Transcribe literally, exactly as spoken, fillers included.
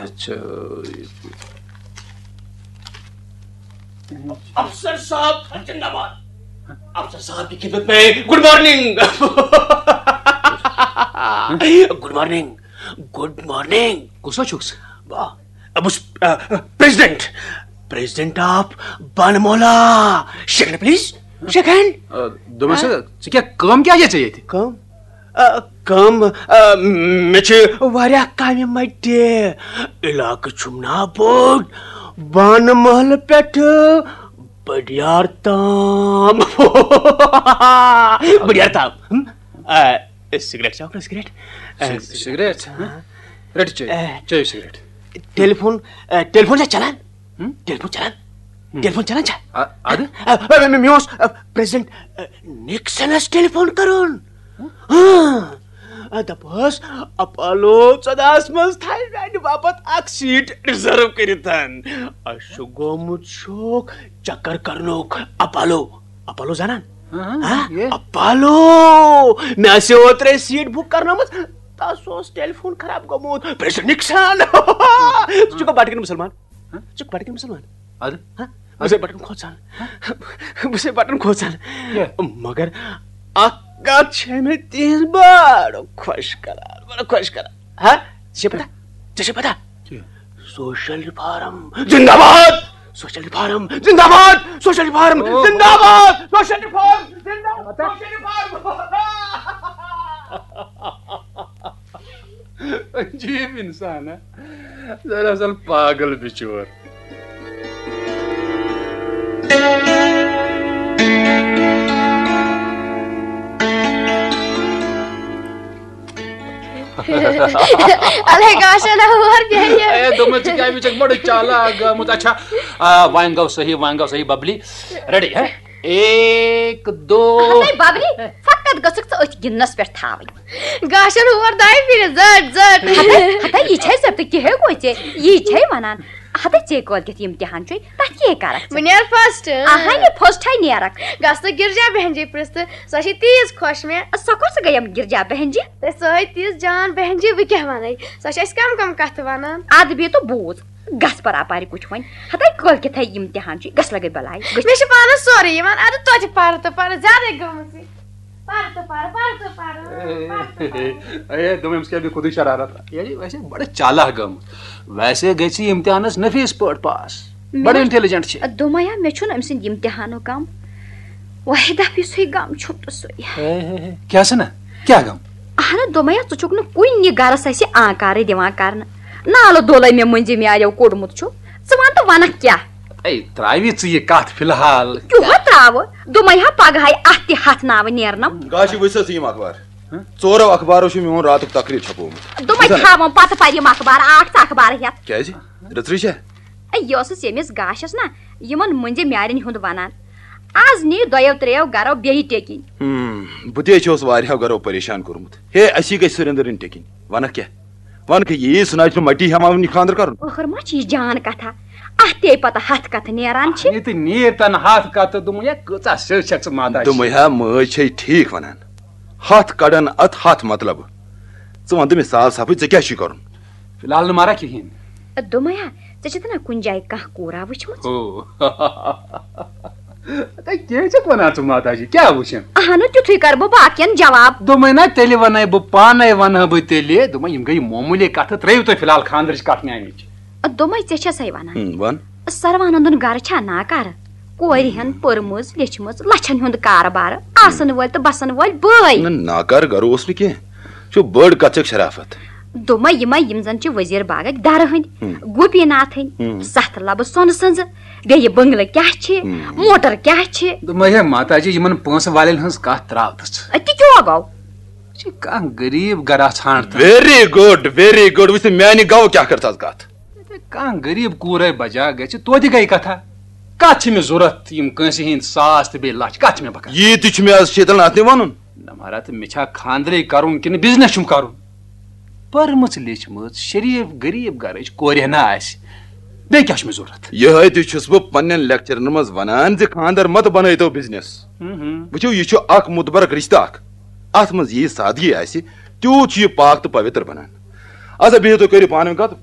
اچھا۔ افسر صاحب زندہ باد۔ افسر صاحب کی خدمت میں، good morning. Good morning. Good morning. کُس حظ چھُکھ ژٕ؟ بہٕ چھُس پریزیڈنٹ، پریزیڈنٹ آف بانمولا۔ Shake hand please, shake hand. دوٚپمَس، ژٕ کیٛاہ کٲم کیٛاہ چھےٚ ژےٚ ییٚتہِ؟ کٲم؟ آ، کٲم؟ آ، مےٚ چھِ واریاہ کامہِ مَٹہِ۔ علاقہٕ چھُم نا بوٚڑ، بانہٕ محلہٕ پٮ۪ٹھٕ بٔڈیار تام۔ بٔڈیار تام۔ ہم؟ آ، سگریٹ چاوکھ نا، سگریٹ؟ آ، سگریٹ؟ ہہ؟ رٔٹِو چیٚیِو، چیٚیِو سگریٹ۔ ٹیلیفون، آ، ٹیلیفون چھا چلان؟ ہم؟ ٹیلیفون چلان؟ ٹیلیفون چلان چھا؟ آ، اَدٕ؟ آ، آ، مےٚ، مےٚ اوس، آ، پریزیڈنٹ، آ، نکسنس ٹیلیفون کرُن۔ ہاں۔ آ، دپہوس، اپالو ژۄدہس منٛز تھایہِ میانہِ باپتھ اکھ سیٹ ریزرو کٔرِتھ۔ اسہِ چھُ گوٚمُت شوق چکر کرنُک۔ اپالو، اپالو زانان؟ ہاں، ہاں؟ یہِ۔ اپالو، مےٚ آسہِ اوترے سیٹ بُک کرنٲومٕژ، تس اوس ٹیلیفون خراب گوٚمُت۔ President Nixon. ژٕ چھُکھا بٹہٕ کِنۍ مسلمان؟ ژٕ چھُکھ بٹہٕ کِنۍ مسلمان؟ اَدٕ؟ ہاں؟ بہٕ چھُس بٹہٕ کھوژان۔ بہٕ چھُس بٹہٕ کھوژان۔ کیٛاہ؟ مگر اکھ کتھ چھےٚ مےٚ تِہنٛز بڑٕ خۄش کران، بڑٕ خۄش کران۔ ہاں؟ ژےٚ چھےٚ پتہ؟ ژےٚ چھےٚ پتہ؟ کیٛاہ؟ سوشل ریفارم زندہ باد! سوشل ریفارم زندہ باد! سوشل ریفارم زندہ باد! سوشل ریفارم زندہ باد! Social reform. عجیب انسان، ہا؟ دراصل پاگل بچور۔ الے گاشن ہور بیٚیہِ۔ اے، دوٚپمَے، ژٕ کیٛازِ وٕچھَکھ بڑٕ چالاک گٔمٕژ؟ اچھا، آ، وۄنۍ گوٚو صحیح، وۄنۍ گوٚو صحیح، ببلی۔ ریڈی، ہا؟ ایک، دو۔ ہتَے ببلی، فقط گٔژھٕکھ ژٕ أتھۍ گِنٛدنَس پٮ۪ٹھ تھاوٕنۍ۔ گاشن ہور دۄیہِ پھِرِ زٔٹ زٔٹ۔ ہتَے، ہتَے، یہِ چھے ژےٚ تہٕ کِہے گوٚو ژےٚ، یی چھے وَنان۔ ہتَے، ژے کٲلۍ کٮ۪تھ امتحان چھُے، تَتھ کیٛاہ کَرَکھ ژٕ؟ بہٕ نیرٕ فسٹ۔ اہنہِ، فسٹھے نیرَکھ۔ گژھ تہٕ گرجا بہن جی پرٛژھ تہٕ، سۄ چھِ تیٖژ خۄش مےٚ۔ سۄ کۄس گٔیم گرجا بہن جی؟ تہٕ سۄ ہے تیٖژ جان بہن جی، بہٕ کیٛاہ وَنَے؟ سۄ چھِ اَسہِ کَم کَم کَتھٕ وَنان۔ اَدٕ بیٚیہِ تہٕ بوٗز، گژھ پَر اَپارِ کُٹھۍ وۄنۍ۔ ہتَے، کٲلۍ کٮ۪تھے امتحان چھُے، گژھ لَگے بَلاے۔ گٔژھ۔ مےٚ چھِ پانَس سورُے یِوان، اَدٕ توتہِ پَرٕ تہٕ پَرٕ، زیادَے گٔمٕژ یہِ۔ پَرٕ تہٕ پَرٕ، پَرٕ تہٕ پَرٕ، پَرٕ تہٕ پَرٕ۔ اے، دوٚپمَے، أمِس کیٛاہ بیٚیہِ خودٕے شرارت؟ یہِ ویسے بڑٕ چالاک گٔمٕژ۔ ویسے گژھِ یہِ امتحانس نفیٖس پٲٹھۍ پاس۔ مےٚ بڑٕ نا-، انٹیلیجنٹ چھِ۔ دوٚپمَے ہا، مےٚ چھُنہٕ أمۍ سٕنٛدِ امتحانُک غم۔ واحدہ، یُسُے غم چھُم تہٕ سُے۔ ہے، ہے، ہے، کیٛاہ سنا؟ کیٛاہ غم؟ اہنہ، دوٚپمَے ہا، ژٕ چھُکھ نہٕ کُنہِ گرس اَسہِ آنکارٕے دِوان کرنہٕ۔ نالہٕ دولے مےٚ مٔنٛزِم یاریو کوٚڑمُت چھُ۔ ژٕ وَن تہٕ وَنکھ کیٛاہ؟ اے، ترٛاوِ ژٕ یہِ کتھ فی الحال۔ کیُہا ترٛاوٕ؟ دوٚپمَے ہا، پگہٕے اَتھ تہِ ہتھ ناوٕ نیرنم۔ گاشہِ وٕچھ سا ژٕ یِم اخبار۔ ژورو اخبارو چھُ میون راتُک تقریر چھپومُت۔ دوٚپمَے، تھاوَم پتہٕ پرِ یِم اخبار، اکھ ژٕ اخبار ہٮ۪تھ۔ کیٛازِ؟ رٕژرٕے چھےٚ؟ اے، یہِ ٲسٕس ییٚمِس گاشس نا یِمن مٔنٛزِم یارٮ۪ن ہُنٛد ونان۔ از نی دۄیو ترٛیو گرو بیٚیہِ ٹیٚکِنۍ۔ ہم، بہٕ تہِ چھُس واریاہو گرو پریشان کوٚرمُت۔ ہے، اسی گژھِ سُرندرٕنۍ ٹیٚکِنۍ۔ ونکھ کیٛاہ؟ ونکھ یی، سُہ نہ چھُنہٕ مٹی ہٮ۪وان وٕنہِ خانٛدر کرُن۔ ٲخٕر ما چھِ یہِ جان کتھا؟ اتھ تے پتہٕ ہتھ کتھٕ نیران چھِ۔ یہِ تہِ نیٖر تن ہتھ کتہٕ، دوٚپمَے، یا کۭژاہ سیٚو چھکھ ژٕ ماتا؟ دوٚپمَے ہا، مٲج چھے ٹھیٖک ونان۔ ہتھ کڑن اتھ ہتھ مطلب۔ ژٕ ون تہٕ مےٚ صاف صافٕے، ژےٚ کیٛاہ چھُے کرُن؟ فی الحال نہٕ مارا کِہیٖنۍ۔ دوٚپمَے ہا، ژےٚ چھِ تنہ کُنہِ جایہِ کانٛہہ کوٗرا وٕچھمٕژ؟ ہو۔ تۄہہِ کیٛاہ چھکھ ونان ژٕ ماتا جی؟ کیٛاہ وٕچھن؟ اہنُ، تیُتھُے کرٕ بہٕ باقین جواب۔ دوٚپمَے نا، تیٚلہِ وَنَے بہٕ پانے، وَنہٕ ہا بہٕ تیٚلہِ۔ دوٚپمَے، یِم گٔے معموٗلی کَتھٕ، ترٛٲیِو تُہۍ فی الحال خانٛدرٕچ کَتھ میٛانِچ۔ دوٚپمَے، ژےٚ چھےٚ سَے وَنان۔ ہم، وَن۔ سروانندُن گرٕ چھا ناکارٕ؟ کورِ ہن پٔرمٕژ لیچھمٕژ، لَچھَن ہُنٛد کارٕبارٕ، آسَن وٲلۍ تہٕ بَسَن وٲلۍ بٲے۔ نہ، ناکارٕ گرٕ اوس نہٕ کینٛہہ۔ چھُ بٔڑ کَتھ چھکھ شرافت۔ دوٚپمَے، یِمَے یِم زَن چھِ وزیر باغٕکۍ دَرٕ ہٕنٛدۍ، ہم۔ گوپی ناتھٕنۍ، ہم۔ سَتھ لَبہٕ سۄنہٕ سٕنٛزٕ، بیٚیہِ بٔنٛگلہٕ کیٛاہ چھِ، ہم۔ موٹر کیٛاہ چھِ۔ دوٚپمَے، ہے ماتا جی، یِمَن پونٛسہٕ والٮ۪ن ہٕنٛز کَتھ ترٛاو تہٕ ژٕ۔ أتی کیٛاہ گوٚو؟ چھِ کانٛہہ غریٖب گرا ژھانٛڈ تہٕ۔ ویری گُڈ، ویری گُڈ۔ وٕچھ تہٕ میانہِ گوٚو کیٛاہ کٔرتھس کَتھ۔ کانٛہہ غریٖب کوٗرے بجا گژھِ، توتہِ گٔے کتھا۔ کتھ چھِ مےٚ ضوٚرتھ یِم کٲنٛسہِ ہِنٛدۍ ساس تہٕ بیٚیہِ لچھ، کتھ چھِ مےٚ بکار؟ یی تہِ چھُ مےٚ از شیطن اتھ تہِ ونُن۔ نہ مہراز، تہٕ مےٚ چھا خانٛدرے کرُن کِنہٕ بزنس چھُم کرُن؟ پٔرمٕژ لیچھمٕژ شریٖف غریٖب گرٕچ کورِ ہنا آسہِ، بیٚیہِ کیٛاہ چھُ مےٚ ضوٚرتھ؟ یِہے تہِ چھُس بہٕ پننٮ۪ن لیکچرن منٛز ونان زِ خانٛدر مت بنٲیتو بزنس۔ ہم ہم۔ وٕچھِو، یہِ چھُ اکھ متبرک رشتہٕ اکھ۔ اتھ منٛز ییٖژ سادگی آسہِ، تیوٗت چھُ یہِ پاک تہٕ پویتر بنان۔ اچھا، بِہِو تُہۍ، کٔرِو پانہٕ ؤنۍ کتھ،